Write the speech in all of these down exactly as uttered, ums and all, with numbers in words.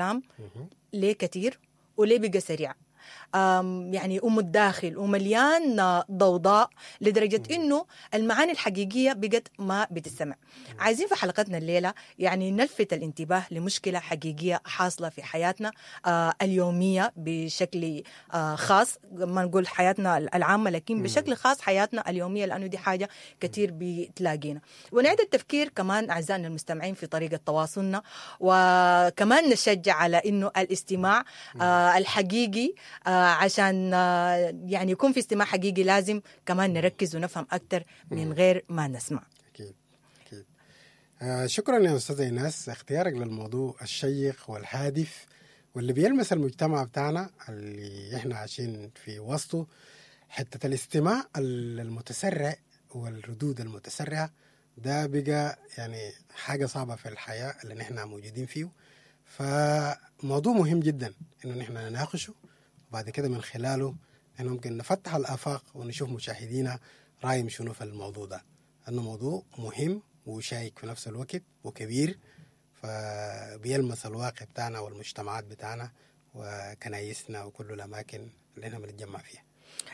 الكلام ليه كتير وليه بقى سريع، آم، يعني ومتداخل ومليان آه، ضوضاء لدرجة إنه المعاني الحقيقية بقت ما بتسمع. عايزين في حلقتنا الليلة يعني نلفت الانتباه لمشكلة حقيقية حاصلة في حياتنا آه، اليومية بشكل آه، خاص، ما نقول حياتنا العامة لكن بشكل خاص حياتنا اليومية، لأنه دي حاجة كتير بتلاقينا. ونعيد التفكير كمان أعزائنا المستمعين في طريقة تواصلنا، وكمان نشجع على إنه الاستماع آه، الحقيقي، آه، عشان آه، يعني يكون في استماع حقيقي لازم كمان نركز ونفهم أكتر من غير ما نسمع. أكيد أكيد. آه شكرا يا أستاذة إيناس، اختيارك للموضوع الشيق والهادف واللي بيلمس المجتمع بتاعنا اللي احنا عايشين في وسطه. حتة الاستماع المتسرع والردود المتسرعة ده بقى يعني حاجة صعبة في الحياة اللي نحن موجودين فيه، فموضوع مهم جدا إنه نحن نناقشه، وبعد كده من خلاله احنا ممكن نفتح الآفاق ونشوف مشاهدينا رأيهم شنو في الموضوع ده، لأنه موضوع مهم وشائك في نفس الوقت وكبير، فبيلمس الواقع بتاعنا والمجتمعات بتاعنا وكنايسنا وكل الأماكن اللي احنا بنتجمع فيها.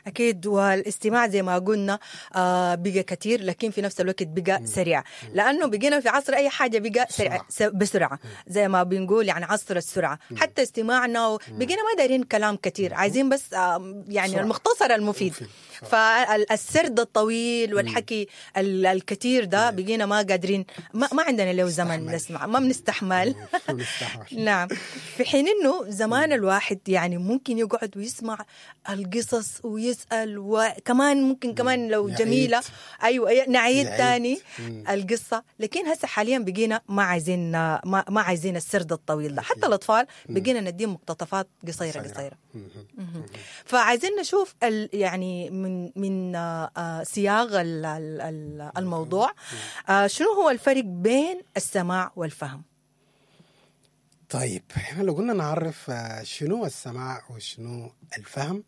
أكيد، والاستماع زي ما قلنا آه بقى كتير، لكن في نفس الوقت بقى سريع، لأنه بقينا في عصر أي حاجة بقى سريع بسرعة، زي ما بنقول يعني عصر السرعة. حتى استماعنا بقينا ما دايرين كلام كتير، عايزين بس آه يعني سرعة. المختصر المفيد. فالسرد الطويل والحكي الكتير ده بقينا ما قادرين، ما, ما عندنا له زمن نسمع، ما بنستحمل. نعم، في حين إنه زمان الواحد يعني ممكن يقعد ويسمع القصص ويسأل، وكمان ممكن كمان لو نعيد. جميلة، أيوة نعيد تاني القصة. لكن هسه حاليا بقينا ما عايزين ما, ما عايزين السرد الطويل ده. حتى الأطفال بقينا نديهم مقتطفات قصيرة قصيرة. فعايزين نشوف يعني من من سياغ الموضوع شنو هو الفرق بين السماع والفهم. طيب احنا لو قلنا نعرف شنو السماع وشنو الفهم،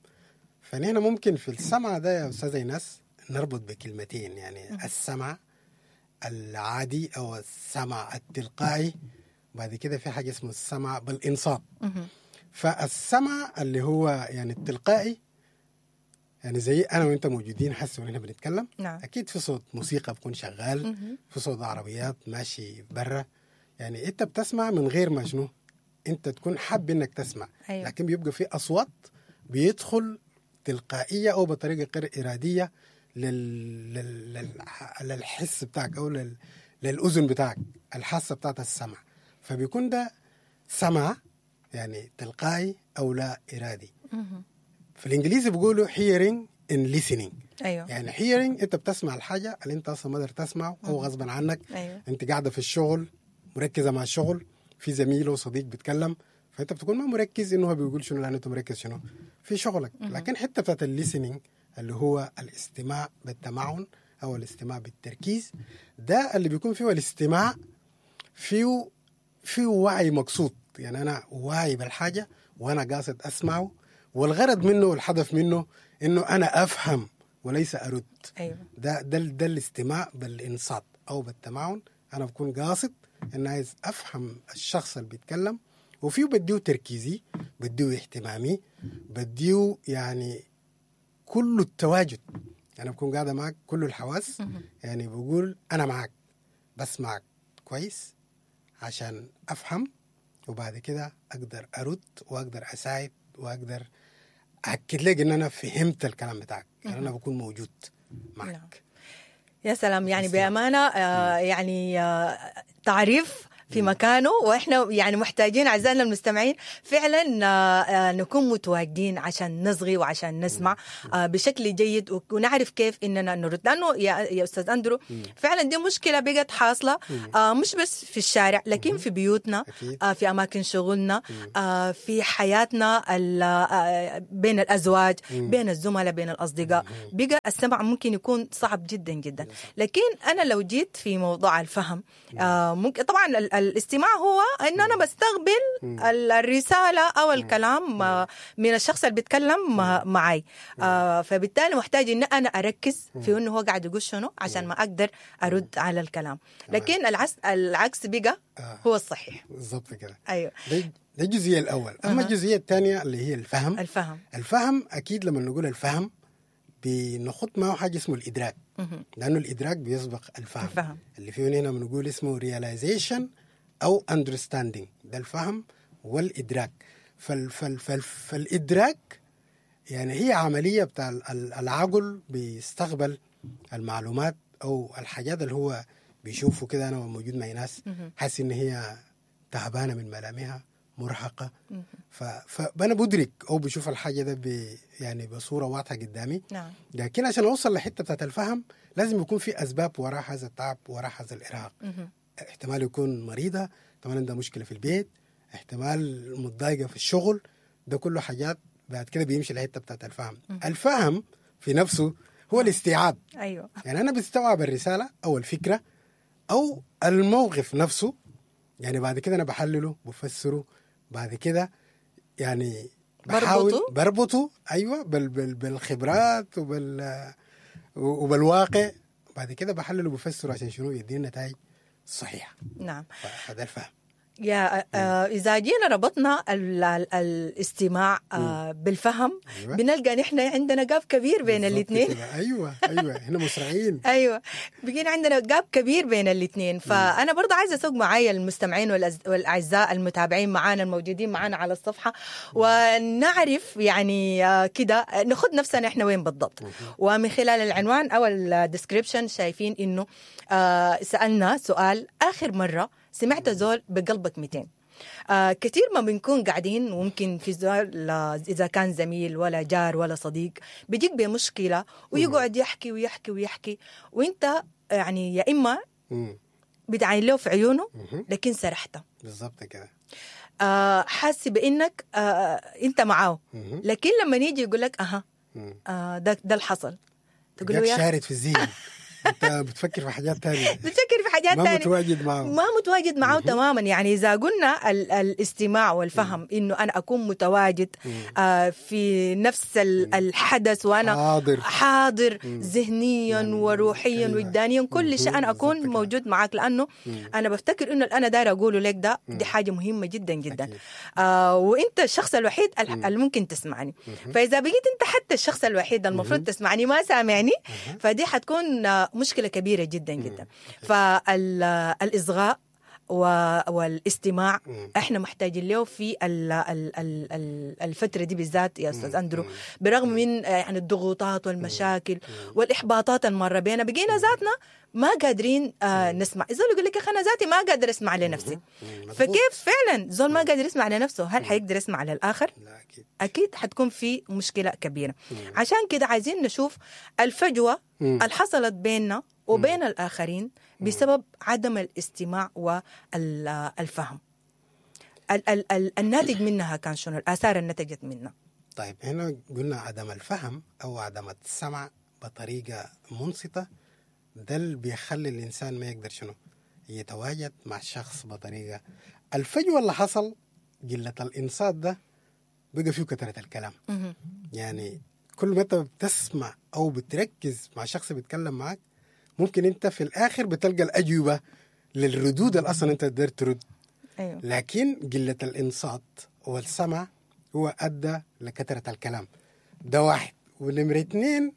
فنحن ممكن في السمع ده يا أستاذة إيناس نربط بكلمتين، يعني السمع العادي أو السمع التلقائي، بعد كده في حاجة اسمه السمع بالإنصات. فالسمع اللي هو يعني التلقائي، يعني زي أنا وإنت موجودين حس ونحن بنتكلم، نعم. أكيد في صوت موسيقى بكون شغال، في صوت عربيات ماشي برا، يعني أنت بتسمع من غير ما شنو أنت تكون حاب إنك تسمع. أيوة. لكن بيبقى في أصوات بيدخل تلقائية أو بطريقة غير إرادية لل... لل... للحس بتاعك أو لل... للأذن بتاعك، الحاسة بتاعت السمع. فبيكون ده سمع يعني تلقائي أو لا إرادي. في الإنجليزي بيقولوا hearing and listening. أيوة. يعني hearing أنت بتسمع الحاجة اللي أنت أصلا ما قدرت تسمعه أو غصبا عنك. أيوة. أنت قاعدة في الشغل مركزة مع الشغل، في زميل وصديق بيتكلم، فأنت بتكون ما مركز إنه هو بيقول شنو، لأنه أنت مركز شنو في شغلك. لكن حتى بتاعت ال listening اللي هو الاستماع بالتمعن أو الاستماع بالتركيز، ده اللي بيكون فيه الاستماع فيه فيه وعي مقصود، يعني أنا واعي بالحاجة وأنا قاصد أسمعه، والغرض منه والهدف منه إنه أنا أفهم وليس أرد. أيوة. ده ده ده الاستماع بالإنصات أو بالتمعن، أنا بكون قاصد إن عايز أفهم الشخص اللي بيتكلم، وفيه بديه تركيزي، بديه اهتمامي، بديه يعني كل التواجد. أنا بكون قاعدة معك كل الحواس، يعني بقول أنا معك، بسمعك كويس عشان أفهم، وبعد كده أقدر أرد وأقدر أساعد وأقدر أأكد لك إن أنا فهمت الكلام بتاعك، يعني أنا بكون موجود معك. يا سلام، يعني بأمانة آه يعني آه تعريف في مكانه، واحنا يعني محتاجين اعزائنا المستمعين فعلا نكون متواجدين عشان نصغي وعشان نسمع بشكل جيد ونعرف كيف اننا نرد. لانه يا استاذ اندرو فعلا دي مشكلة بقت حاصله، مش بس في الشارع لكن في بيوتنا، في اماكن شغلنا، في حياتنا بين الازواج، بين الزملاء، بين الاصدقاء. بقى السمع ممكن يكون صعب جدا جدا. لكن انا لو جيت في موضوع الفهم، ممكن طبعا الاستماع هو انه انا بستقبل ال- الرسالة او الكلام آه، من الشخص اللي بيتكلم آه، معي، آه، فبالتالي محتاج ان انا اركز في انه هو قاعد يقول شنو عشان ما اقدر ارد على الكلام. لكن العكس العكس بقى آه. هو الصحيح. بالضبط كده. ايوه، ده ده الجزئية الاول. اما الجزئية الثانية اللي هي الفهم. الفهم الفهم اكيد لما نقول الفهم بنخط معه حاجة اسمه الادراك، لانه الادراك بيسبق الفهم. الفهم. اللي فيه هنا بنقول اسمه realization او understanding، ده الفهم والادراك. فال فال فال فالادراك يعني هي عملية بتاع ال- ال- العقل بيستقبل المعلومات او الحاجات اللي هو بيشوفه كده. انا موجود مع ناس حاسس ان هي تعبانة من ملامحها، مرهقة، ف... فانا بدرك او بشوف الحاجة ده ب... يعني بصورة واضحة قدامي. نعم. لكن عشان اوصل لحته بتاعت الفهم لازم يكون في اسباب وراء هذا التعب، وراء هذا الارهاق. احتمال يكون مريضه، احتمال عندها مشكلة في البيت، احتمال متضايقة في الشغل. ده كله حاجات بعد كده بيمشي لحته بتاعت الفهم. الفهم في نفسه هو الاستيعاب. ايوه، يعني انا بستوعب الرسالة او الفكرة او الموقف نفسه، يعني بعد كده انا بحلله، بفسره، بعد كده يعني بحاول بربطه؟ بربطه ايوه بال بال بالخبرات وبال وبالواقع. بعد كده بحلله وبفسره عشان شنو؟ يديني نتائج صحيحه. نعم. فهذا الفهم. يا آه إذا جينا ربطنا ال ال الاستماع آه بالفهم، أيوة. بنلقى نحن عندنا gap كبير بين بالظبط الاثنين. كده. ايوه ايوه، احنا مسرعين. ايوه، بقينا عندنا gap كبير بين الاثنين. فانا برضه عايزه اسوق معايا المستمعين والأز- والاعزاء المتابعين معانا الموجودين معانا على الصفحة، ونعرف يعني آه، كده ناخد نفسنا احنا وين بالضبط. ومن خلال العنوان او ال description شايفين انه آه، سالنا سؤال: اخر مرة سمعت زول بقلبك ميتين؟ آه كثير ما بنكون قاعدين، وممكن في زول آه، إذا كان زميل ولا جار ولا صديق بيجيك بمشكلة ويقعد يحكي ويحكي ويحكي، وانت يعني يا إما مم. بتعاين له في عيونه مهم. لكن سرحت، بالظبط كده. آه حاسس بانك آه انت معاه، مهم. لكن لما يجي يقول لك اها مم. آه ده ده اللي حصل، تقول له جاك يا أخي شارد في الذهن، انت بتفكر في حاجات تانية، بتفكر في حاجات ما تانية، متواجد معه. ما متواجد معه تماما. يعني اذا قلنا ال الاستماع والفهم انه انا اكون متواجد آه في نفس ال- الحدث وانا حاضر. حاضر ذهنيا وروحيا أيوة. وجدانيا، كل شيء انا اكون بالظبط كده. موجود معك، لانه انا بفتكر انه اللي انا داير اقوله لك ده دي حاجة مهمة جدا جدا. أكيد. آه وانت الشخص الوحيد ال- اللي ممكن تسمعني. فاذا بقيت انت حتى الشخص الوحيد المفروض تسمعني ما سامعني، فدي حتكون آه، مشكلة كبيرة جدا جدا. فالاصغاء والاستماع احنا محتاجين له في ال ال ال ال الفترة دي بالذات يا استاذ اندرو، برغم من آه، يعني الضغوطات والمشاكل والاحباطات المرة بينا، بقينا ذاتنا ما قادرين آه نسمع. زول يقول لك يا اخي انا ذاتي ما قادر اسمع لنفسي. مظبوط. فكيف فعلا زول ما قادر يسمع لنفسه هل حيقدر يسمع للاخر؟ لا اكيد. اكيد حتكون في مشكلة كبيرة. عشان كده عايزين نشوف الفجوة اللي حصلت بيننا وبين الاخرين بسبب عدم الاستماع والفهم. ال ال ال الناتج منها كان شنو؟ الاثار اللي نتجت منها. طيب، هنا قلنا عدم الفهم او عدم السمع بطريقة منصته، ده اللي بيخلي الانسان ما يقدر شنو يتواجد مع الشخص بطريقة. الفجوة اللي حصل قلة الانصات ده بقى فيه كثرة الكلام. يعني كل ما انت بتسمع او بتركز مع شخص بيتكلم معك، ممكن انت في الاخر بتلقى الاجوبة للردود اللي اصلا انت قدرت ترد. ايوه لكن قلة الإنصات والسمع هو أدى لكثرة الكلام. ده واحد. ونمرة اتنين،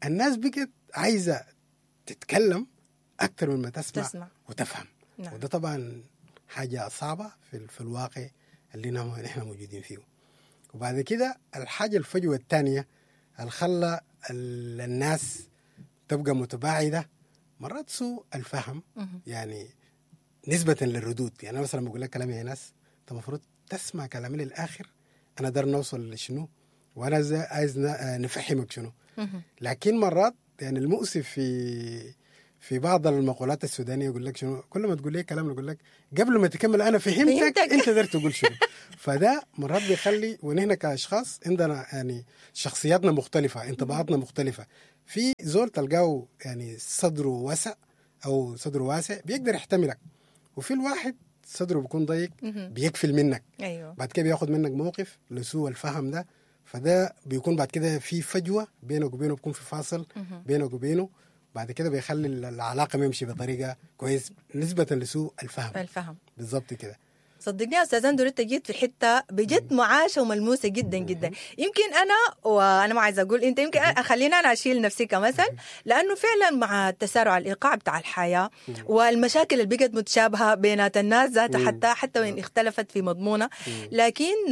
الناس بقت عايزة تتكلم أكثر من ما تسمع, تسمع. وتفهم. نعم. وده طبعا حاجة صعبة في, في الواقع اللي نحن نحن موجودين فيه. وبعد كده الحاجة الفجوة الثانية اللي خلى ال- الناس تبقى متباعدة مرات سوء الفهم، يعني نسبة للردود. يعني أنا مثلا بقول لك كلام يا ناس، أنت المفروض تسمع كلامي للآخر، أنا دار نوصل لشنو وأنا زي عايز ن- آه نفهمك شنو. لكن مرات يعني المؤسف في في بعض المقولات السودانية يقول لك شنو، كل ما تقول لي كلام يقول لك قبل ما تكمل انا فهمتك، فهمتك. انت قدرت تقول شنو. فده مرات بيخلي، ونحن كاشخاص عندنا يعني شخصياتنا مختلفة، انطباعاتنا مختلفة. في زول تلقاه يعني صدره واسع او صدره واسع بيقدر يحتملك، وفي الواحد صدره بيكون ضيق بيقفل منك. ايوه بعد كده بياخد منك موقف لسوء الفهم ده، فده بيكون بعد كده في فجوة بينك وبينه، بيكون في فاصل بينك وبينه. بعد كده بيخلي العلاقة ما يمشي بطريقة كويس نسبه لسوء الفهم. الفهم بالضبط كده. صدقني يا استاذ اندرو انت جيت في حتة بجد معاشه وملموسه جدا جدا. يمكن انا وانا ما عايزه اقول انت، يمكن خلينا انا اشيل نفسي كمثل، لانه فعلا مع تسارع الايقاع بتاع الحياة والمشاكل اللي بقت متشابهة بينات الناس ذاتها، حتى حتى وان اختلفت في مضمونها، لكن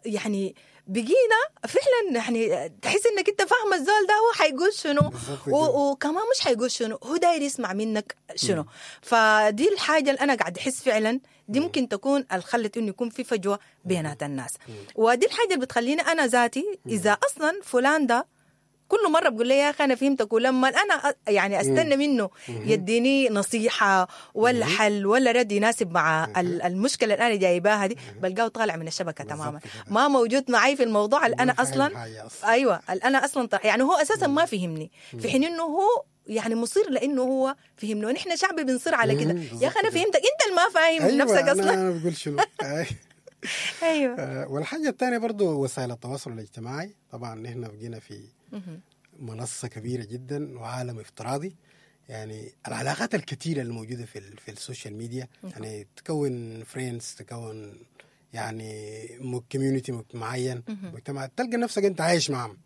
يعني بقينا فعلا يعني تحس انك انت فاهمه الزول ده هو حيقول شنو، وكمان مش حيقول شنو، هو داير يسمع منك شنو. مم. فدي الحاجة اللي انا قاعد احس فعلا دي ممكن تكون الخلت انه يكون في فجوة بينات الناس. مم. ودي الحاجة اللي بتخليني انا ذاتي اذا اصلا فلان ده كل مرة بقول لي يا اخي انا فهمتك، ولما انا يعني استنى منه يديني نصيحة ولا حل ولا رد يناسب مع المشكلة اللي انا جايباها دي، بلقاه طالع من الشبكة تماما، ما موجود معي في الموضوع اللي انا اصلا ايوه اللي انا اصلا يعني هو اساسا ما فهمني، في حين انه هو يعني مصير لانه هو فهمني، ونحن شعب بنصير على كده. يا اخي انا فهمتك، انت اللي ما فاهم. أيوة نفسك اصلا. انا بقول شنو. ايوه. والحاجة الثانية برضو وسائل التواصل الاجتماعي، طبعا نحن بقينا في منصة كبيرة جدا وعالم افتراضي، يعني العلاقات الكثيرة الموجودة في في ال social media، يعني تكون friends، تكون يعني community معين، مجتمع، تلقى نفسك انت عايش معهم.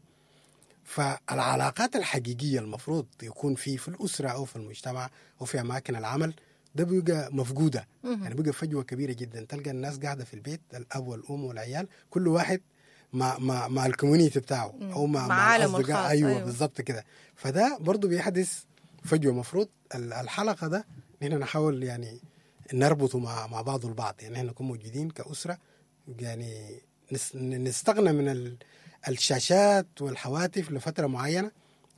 فالعلاقات الحقيقية المفروض يكون في في الأسرة أو في المجتمع أو في أماكن العمل ده بيبقى مفقودة. يعني بيبقى فجوة كبيرة جدا، تلقى الناس قاعدة في البيت، الأب والأم والعيال، كل واحد مع مع مع ال community بتاعه او مع مع عالمه الخاص. ايوه, أيوة. بالضبط كده. فده برضو بيحدث فجوة. مفروض الحلقة ده نحن نحاول يعني نربطه مع مع بعض البعض، يعني نحن نكون موجودين كاسره، يعني نستغنى من الشاشات والحواتف لفترة معينة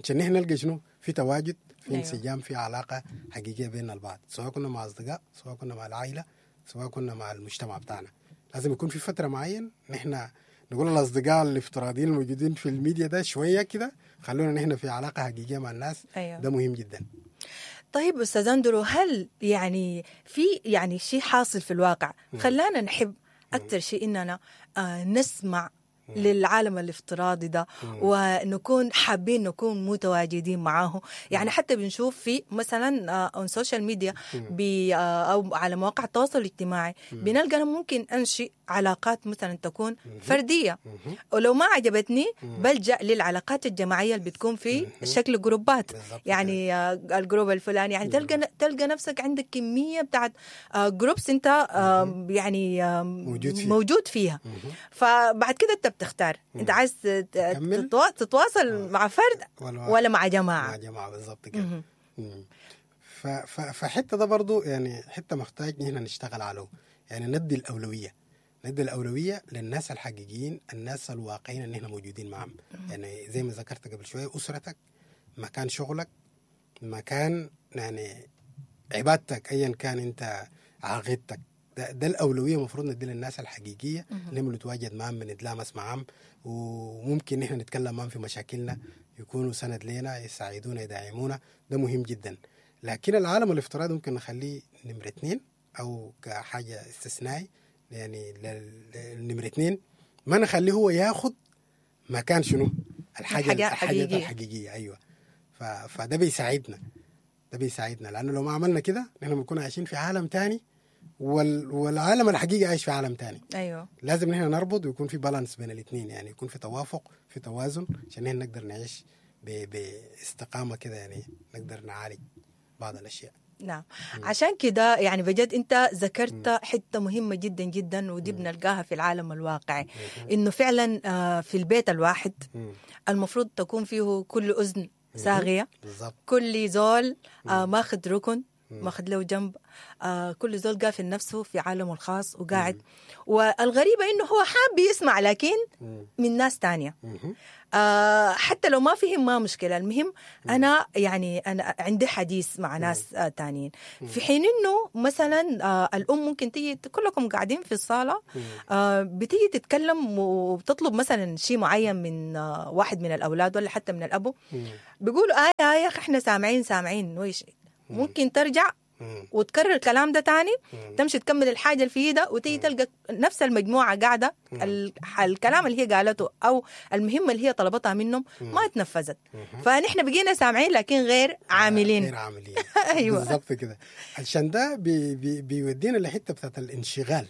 عشان نحن نلقى شنو في تواجد، في انسجام، في علاقة حقيقية بين البعض، سواء كنا مع اصدقاء، سواء كنا مع العائلة، سواء كنا مع المجتمع بتاعنا. لازم يكون في فترة معين نحن نقول الاصدقاء الافتراضيين الموجودين في الميديا ده شوية كده، خلونا نحن في علاقة حقيقية مع الناس. أيوة. ده مهم جدا. طيب استاذ اندرو، هل يعني في يعني شيء حاصل في الواقع خلانا نحب اكثر شيء اننا آه نسمع للعالم الافتراضي ده ونكون حابين نكون متواجدين معاه؟ يعني حتى بنشوف في مثلا on social media او على مواقع التواصل الاجتماعي بنلقى انا ممكن انشئ علاقات مثلا تكون فردية، ولو ما عجبتني بلجأ للعلاقات الجماعية اللي بتكون في شكل جروبات، يعني ال group الفلاني، يعني تلقى تلقى نفسك عندك كمية بتاعت groups انت يعني موجود فيها, موجود فيها. فبعد كده انت بتختار انت عايز تتواصل مع فرد ولا, ولا مع جماعة. مع جماعة بالضبط كده. فحته ده برضو يعني حتة محتاج نحن نشتغل عليه، يعني ندي الاولوية، ندي الاولوية للناس الحقيقيين، الناس الواقعيين اللي احنا موجودين معهم. يعني زي ما ذكرت قبل شوية، اسرتك، مكان شغلك، مكان يعني عبادتك، ايا كان انت عقيدتك، ده, ده الأولوية المفروض ندي للناس الحقيقية اللي بنتواجد معهم، بنتلامس معهم، وممكن نحن نتكلم معهم في مشاكلنا، يكونوا سند لنا، يساعدونا، يدعمونا. ده مهم جدا. لكن العالم الافتراضي ممكن نخليه نمرة اتنين أو كحاجة استثنائي، يعني نمرة اتنين ما نخليه هو ياخد مكان شنو الحاجة الحاجة الحقيقية, الحقيقية. أيوة. ف... فده بيساعدنا، ده بيساعدنا، لأنه لو ما عملنا كده نحن بنكون عايشين في عالم تاني، والعالم الحقيقي عايش في عالم تاني. ايوه. لازم نحن نربط ويكون في بالانس بين الاثنين، يعني يكون في توافق، في توازن، عشان نحن نقدر نعيش باستقامه كده، يعني نقدر نعالج بعض الاشياء. نعم. عشان كده يعني بجد انت ذكرت حتة مهمة جدا جدا، ودي بنلقاها في العالم الواقعي، انه فعلا في البيت الواحد المفروض تكون فيه كل اذن صاغيه، كل زول ماخذ ركن، ماخذ له جنب، آه كل زول قافل نفسه في عالمه الخاص وقاعد. مم. والغريبة إنه هو حاب يسمع لكن مم. من ناس تانية. آه حتى لو ما فهم ما مشكلة، المهم أنا يعني أنا عندي حديث مع ناس آه تانيين. في حين إنه مثلا آه الأم ممكن تيجي كلكم قاعدين في الصالة، آه بتيجي تتكلم وبتطلب مثلا شيء معين من آه واحد من الأولاد ولا حتى من الأبو، بيقولوا آه يا أخي إحنا سامعين سامعين وإيش، ممكن ترجع مم. وتكرر الكلام ده تاني، مم. تمشي تكمل الحاجة اللي في ايدها وتيجي تلقى نفس المجموعة قاعدة ال- الكلام اللي هي قالته او المهمة اللي هي طلبتها منهم ما اتنفذت. فنحن بقينا سامعين لكن غير عاملين. غير عاملين. أيوة. بالظبط كده. عشان ده بي بي بيودينا لحته بتاعت الانشغال،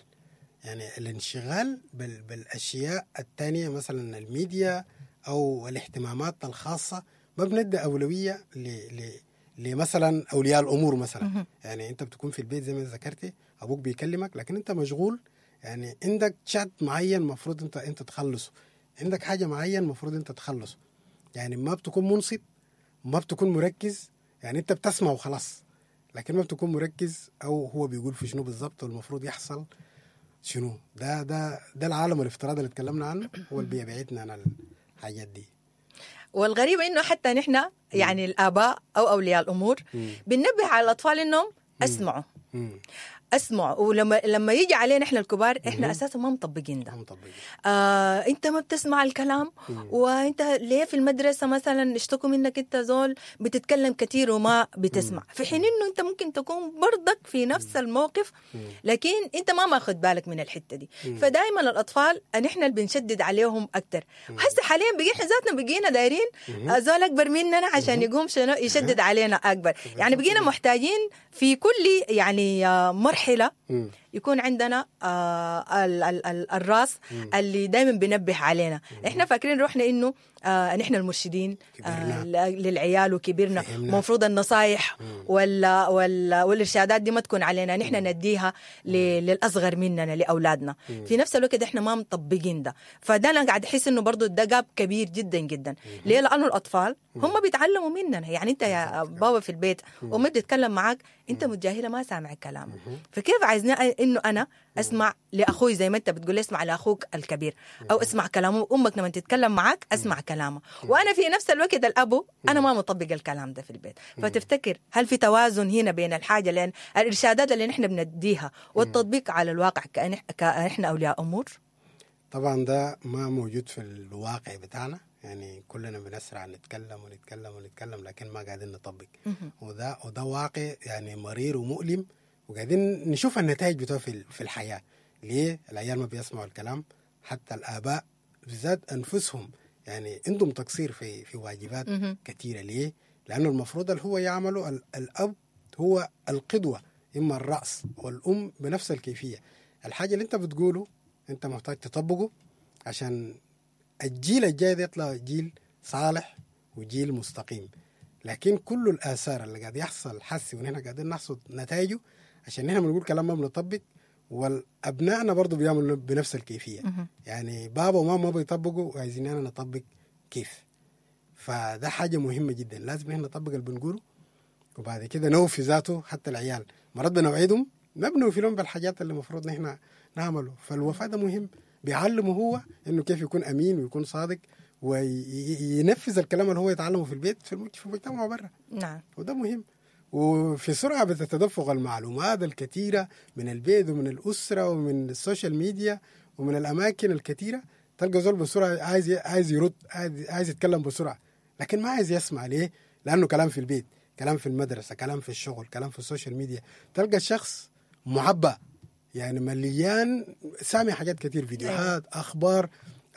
يعني الانشغال بال بالاشياء الثانية، مثلا الميديا او الاهتمامات الخاصة. ما بندي اولوية ل ل لمثلا اولياء الامور مثلا. يعني انت بتكون في البيت زي ما ذكرتي، ابوك بيكلمك لكن انت مشغول، يعني عندك شات معين المفروض انت انت تخلصه، عندك حاجة معين المفروض انت تخلصه، يعني ما بتكون منصت، ما بتكون مركز، يعني انت بتسمع وخلاص لكن ما بتكون مركز او هو بيقول في شنو بالظبط والمفروض يحصل شنو. ده ده ده العالم الافتراضي اللي اتكلمنا عنه هو اللي بيبعدنا عن الحاجات دي. والغريب انه حتى نحن يعني الاباء او اولياء الامور بننبه على الاطفال انهم اسمعوا، مم. اسمعوا، ولما لما يجي علينا احنا الكبار احنا اساسا ما مطبقين ده. ما مطبقين. آه، انت ما بتسمع الكلام، وانت ليه في المدرسة مثلا اشتكوا منك انت زول بتتكلم كثير وما بتسمع، في حين انه انت ممكن تكون برضك في نفس الموقف لكن انت ما ماخذ بالك من الحتة دي. فدائما الاطفال نحن اللي بنشدد عليهم اكثر. هسه حاليا بقينا احنا ذاتنا بقينا دايرين زول اكبر مننا عشان يقوم شنو يشدد علينا اكبر، يعني بقينا محتاجين في كل يعني آه، مرحلة مم. يكون عندنا آه ال ال ال الراس اللي دائما بينبه علينا. احنا فاكرين روحنا انه آه نحن المرشدين آه كبرنا. للعيال وكبرنا، فهمنا. المفروض النصايح وال وال والارشادات دي ما تكون علينا، نحن نديها ل- للاصغر مننا لاولادنا. في نفس الوقت احنا ما مطبقين ده، فده انا قاعد احس انه برضه ده gap كبير جدا جدا. ليه؟ لانه الاطفال هم بيتعلموا مننا. يعني انت يا بابا في البيت امي بتتكلم معاك انت متجاهله ما سامع كلامه، فكيف عايزنا انه انا اسمع لاخوي زي ما انت بتقول لي اسمع لاخوك الكبير او اسمع كلامه، امك لما تتكلم معاك اسمع كلامه، وانا في نفس الوقت الابو انا ما مطبق الكلام ده في البيت. فتفتكر هل في توازن هنا بين الحاجة، لان الارشادات اللي نحن بنديها والتطبيق على الواقع كأن- كاحنا اولياء امور؟ طبعا ده ما موجود في الواقع بتاعنا، يعني كلنا بنسرع نتكلم ونتكلم ونتكلم لكن ما قاعدين نطبق، وده وده واقع يعني مرير ومؤلم، وقاعدين نشوف النتائج بتاعه في في الحياة. ليه العيال ما بيسمعوا الكلام؟ حتى الآباء بالذات أنفسهم يعني عندهم تقصير في في واجبات كثيرة. ليه؟ لأنه المفروض اللي هو يعمله ال- الأب هو القدوة، إما الرأس والأم بنفس الكيفية. الحاجة اللي أنت بتقوله أنت محتاج تطبقه عشان الجيل الجاي ده يطلع جيل صالح وجيل مستقيم. لكن كل الآثار اللي قاعد يحصل حسي ونحن قاعدين نحصد نتائجه عشان نحن بنقول كلام ما بنطبق، والأبنائنا برضو بيعملوا بنفس الكيفية. يعني بابا وماما ما بيطبقوا وعايزين أنا نطبق كيف؟ فده حاجة مهمة جدا، لازم نحن نطبق اللي بنقوله وبعد كده نوفي ذاته. حتى العيال مرات بنوعدهم ما بنوفي لهم بالحاجات اللي المفروض نحن نعمله، فالوفاء ده مهم، بيعلمه هو انه كيف يكون امين ويكون صادق وينفذ الكلام اللي هو يتعلمه في البيت في المج- في المجتمع برا. نعم. وده مهم. وفي سرعة بتتدفق المعلومات الكثيرة من البيت ومن الاسرة ومن ال social media ومن الاماكن الكثيرة، تلقى زول بسرعة عايز عايز يرد، عايز, عايز يتكلم بسرعة لكن ما عايز يسمع. ليه؟ لانه كلام في البيت، كلام في المدرسة، كلام في الشغل، كلام في ال social media. تلقى الشخص معبأ يعني مليان، سامع حاجات كتير، فيديوهات، اخبار.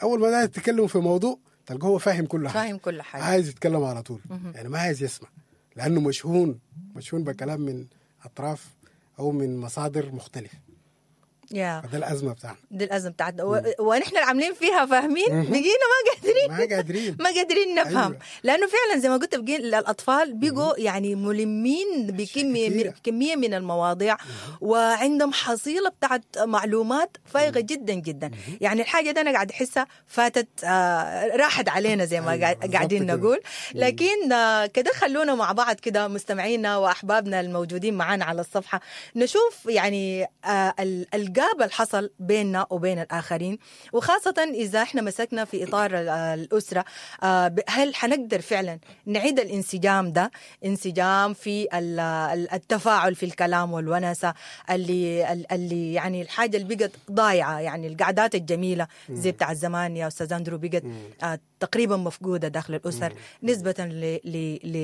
اول ما تتكلم في موضوع تلقاه هو فاهم كل حاجة، فاهم كل حاجة، عايز يتكلم على طول، يعني ما عايز يسمع لانه مشحون، مشحون بكلام من اطراف او من مصادر مختلفة. يا فده الازمة بتاعنا. دي الازمة بتاعتنا، و... ونحن اللي عاملين فيها فاهمين بقينا ما قادرين ما قادرين ما قادرين نفهم. أيوة. لانه فعلا زي ما قلت بقين الاطفال بقوا يعني ملمين بكمية كثيرة. من كمية من المواضيع، وعندهم حصيله بتاعت معلومات فائقة جدا جدا. يعني الحاجة دي انا قاعد احسها فاتت، آه راحت علينا زي ما أيوة، قاعد- بالضبط قاعدين كده. نقول. لكن آه كده خلونا مع بعض كده مستمعينا واحبابنا الموجودين معانا على الصفحة نشوف يعني آه ال- ال gap اللي حصل بيننا وبين الاخرين، وخاصة اذا احنا مسكنا في اطار ال- الاسرة، آه، ب- هل حنقدر فعلا نعيد الانسجام ده، انسجام في ال- ال- التفاعل في الكلام والونسه اللي اللي يعني الحاجة اللي بقت ضايعة، يعني القعدات الجميلة زي بتاع زمان يا استاذ اندرو بقت آه، تقريبا مفقودة داخل الاسر نسبه ل ل ل